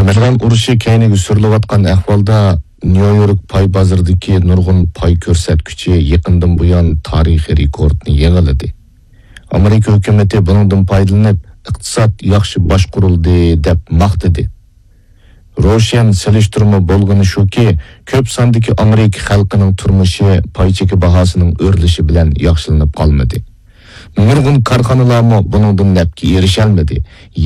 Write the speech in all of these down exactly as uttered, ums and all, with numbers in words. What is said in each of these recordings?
ئىران ئۇرۇشى كەينىگە سۈرۈلۈۋاتقان ئەھۋالدا، نيۇ يورك پاي بازىرىدىكى نۇرغۇن پاي كۆرسەتكۈچى يېقىندىن بۇيان تارىخىي رېكورتنى يېڭىلىدى. ئامېرىكا ھۆكۈمىتى بۇنىڭدىن پايدىلىنىپ، ئىقتىساد ياخشى باشقۇرۇلدى، دەپ ماختىدى. روشەن سېلىشتۇرما بولغىنى شۇكى، كۆپ ساندىكى ئامېرىكا خەلقىنىڭ تۇرمۇشى پاي چېكى باھاسىنىڭ ئۆرلىشى بىلەن ياخشىلىنىپ قالمىدى. نۇرغۇن كارخانىلارمۇ بۇنىڭدىن نەپكە ئېرىشەلمىدى.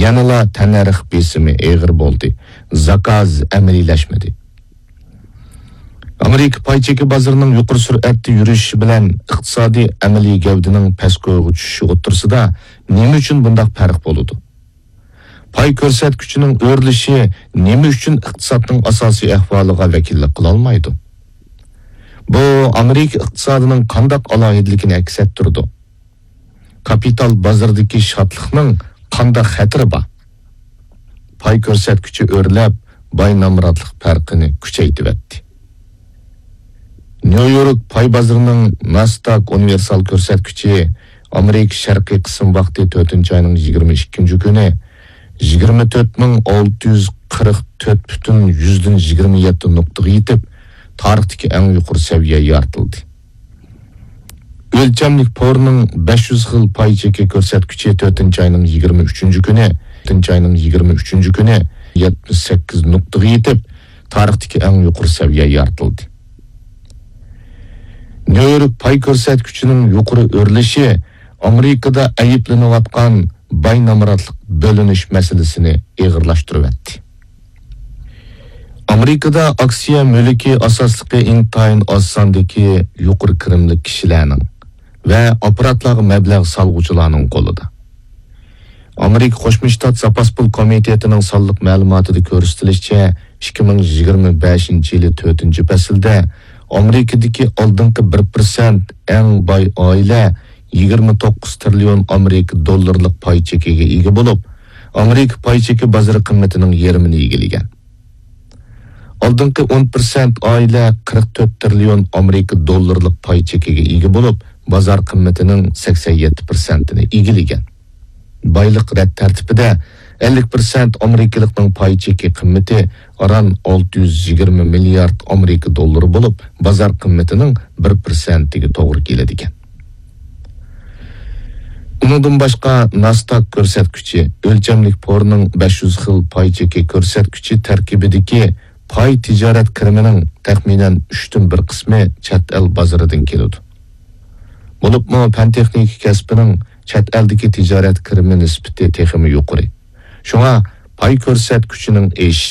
يەنىلا تەننەرخ بېسىمى ئېغىر بولدى. زاكاز ئەمەلىيلەشمىدى. ئامېرىكا پاي چېكى بازىرىنىڭ يۇقىرى سۈرئەتتە يۈرۈشى بىلەن ئىقتىسادىي ئەمەلىي گەۋدىنىڭ پەسكويغا چۈشۈشى ئوتتۇرىسىدا نېمە ئۈچۈن بۇنداق پەرق بولىدۇ؟ پاي كۆرسەتكۈچىنىڭ ئۆرلىشى نېمە ئۈچۈن ئىقتىسادنىڭ ئاساسىي ئەھۋالىغا ۋەكىللىك قىلالمايدۇ؟ بۇ ئامېرىكا ئىقتىسادىنىڭ قانداق ئالاھىدىلىكىنى ئەكس ئەتتۈرىدۇ؟ كاپىتال بازىرىدىكى شادلىقنىڭ قانداق خەتىرى بار؟ پاي كۆرسەتكۈچى ئۆرلەپ، باي نامراتلىق پەرقىنى كۈچەيتىۋەتتى. نيۇ يورك پاي بازىرىنىڭ ناسداك ئۇنىۋېرسال كۆرسەتكۈچى ئامېرىكا شەرقىي قىسىم ۋاقتى تۆتىنچى ئاينىڭ يىگىرمە ئىككىنچى كۈنى يىگىرمە تۆت مىڭ ئالتە يۈز قىرىق تۆت پۈتۈن يۈزدىن يىگىرمە يەتتە نۇقتىغا يېتىپ، تارىختىكى ئەڭ يۇقىرى سەۋىيە يارىتىلدى. ئۆلچەملىك پورنىڭ بەش يۈز خىل پاي چېكى كۆرسەتكۈچى تۆتىنچى ئاينىڭ يىگىرمە ئۈچىنچى كۈنى، تۆتىنچى ئاينىڭ يىگىرمە ئۈچىنچى كۈنى يەتمىش سەككىز نۇقتىغا يېتىپ، تارىختىكى ئەڭ يۇقىرى سەۋىيە يارىتىلدى. نيۇ يورك پاي كۆرسەتكۈچىنىڭ يۇقىرى ئۆرلىشى ئامېرىكىدا ئەيىبلىنىۋاتقان باي نامراتلىق بۆلۈنۈش مەسىلىسىنى ئېغىرلاشتۇرۇۋەتتى. ئامېرىكىدا ئاكسىيە مۈلكى ئاساسلىقى ئىنتايىن ئاز ساندىكى يۇقىرى كىرىملىك كىشىلەرنىڭ ۋە ئاپپاراتلارغا مەبلەغ سالغۇچىلارنىڭ قولىدا. ئامېرىكا قوشما شتات زاپاس پۇل كومىتېتىنىڭ سانلىق مەلۇماتىدا كۆرسىتىلىشىچە، ئىككى مىڭ يىگىرمە بەشىنچى يىلى تۆتىنچى پەسىلدە ئامېرىكىدىكى ئالدىنقى بىر پىرسەنت ئەڭ باي ئائىلە يىگىرمە توققۇز تىرىليون ئامېرىكا دوللىرىلىق پاي چېكىگە ئىگە بولۇپ، ئامېرىكا پاي چېكى بازىرى قىممىتىنىڭ يېرىمىنى ئىگىلىگەن. ئالدىنقى ئون پىرسەنت ئائىلە قىرىق تۆت تىرىليون ئامېرىكا دوللىرىلىق پاي چېكىگە ئىگە بولۇپ، بازار قىممىتىنىڭ سەكسەن يەتتە پىرسەنتىنى ئىگىلىگەن. بايلىق رەت تەرتىپىدە ئەللىك پىرسەنت ئامېرىكىلىقنىڭ پاي چېكى قىممىتى ئاران ئالتە يۈز يىگىرمە مىليارد ئامېرىكا دوللىرى بولۇپ، بازار قىممىتىنىڭ بىر پىرسەنتىگە توغرا كېلىدىكەن. ئۇنىڭدىن باشقا، ناسداك كۆرسەتكۈچى، ئۆلچەملىك پورنىڭ بەش يۈز خىل پاي چېكى كۆرسەتكۈچى تەركىبىدىكى پاي تىجارەت كىرىمىنىڭ تەخمىنەن ئۈچتىن بىر قىسمى چەت ئەل بازىرىدىن كېلىدۇ. بولۇپمۇ پەن تېخنىكا كەسپىنىڭ چەت ئەلدىكى تىجارەت كىرىمى نىسبىتى تېخىمۇ يۇقىرى. شۇڭا پاي كۆرسەتكۈچىنىڭ ئېشىشى